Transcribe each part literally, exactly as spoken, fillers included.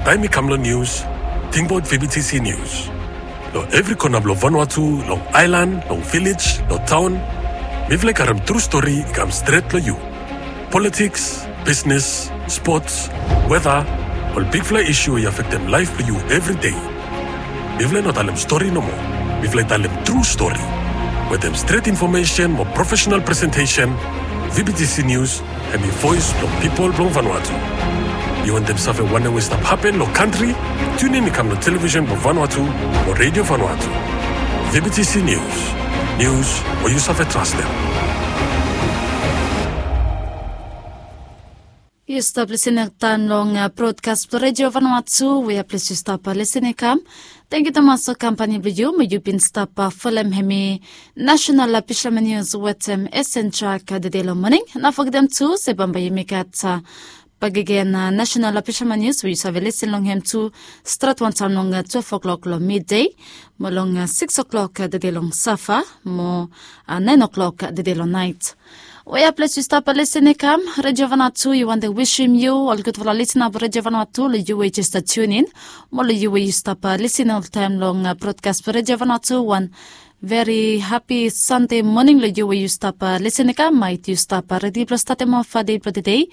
Taem i kam long nius, tingbaot V B T C Nius. Long evri kona blong Vanuatu, long aelan, long vilej, long taon, mifala i karem tru stori i kam stret long yu. Politiks, bisnes, spots, weta, ol bigfala isu we i afektem laef blong yu evri dei. Mifala i no talem stori nomo. Mifala i talem tru stori. Wetem stret infomesen mo profesenal presentesen, V B T C Nius hemi voes blong pipol blong Vanuatu. Yu wantem save wanem we i stap hapen long kantri? Tiunin i kam long televisen blong Vanuatu mo Redio Vanuatu. V B T C Nius. Nius we yu save trastem. Yu stap lisin taem long brodkas blong Redio Vanuatu, wea ples yu stap lisin i kam. Tangkiu tumas long kampani blong yu, mo yu bin stap folem hemi National Fisherman Nius wetem Esen Trak tede long moning. No fogetem tu se bambae yumi gat bakegen National Fisherman Nius we yu save lisin long hem tu stret wantaem long twelve o'clock long midei, mo long six o'clock tede long safa, mo nine o'clock tede long naet. Wea ples yu stap lisin i kam, Redio Vanuatu i wantem wisim yu ol gudfala lisina blong Redio Vanuatu, long yu we jes stap tiunin, mo long yu we yu stap lisin oltaem long brodkas blong Redio Vanuatu, wan veri hapi Sande moning long yu we yu stap lisin i kam. Maet yu stap redi blong statem of dei blong tedei,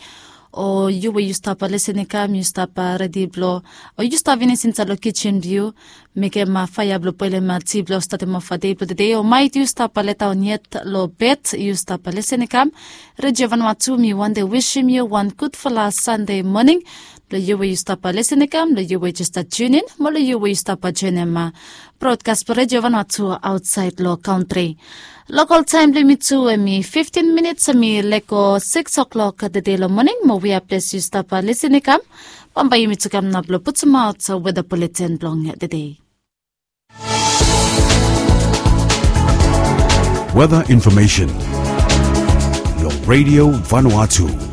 o yu we yu stap lisin i kam yu stap redi blong, o yu stap finis insaed long kijen blong yu mekem faea blong boelem ti blong statem of dei blong tedei, o maet yu stap letaon yet long bed, yu stap lisin i kam. Redio Vanuatu, mi wantem wisim yu wan gudfala Sande moning, long yu we yu stap lisin i kam, long yu we jes stap tiunin, mo long yu we yu stap joenem brodkas blong Redio Vanuatu aotsaed long kantri. Lokol taem blong yumi tu hemi fiftin minits hemi lego six o'clock tede long moning, mo wea ples yu stap lisin i kam. Bambae yumi tu kam nao blong putumaot weta buleten blong tedei. Weta infomesen long Redio Vanuatu.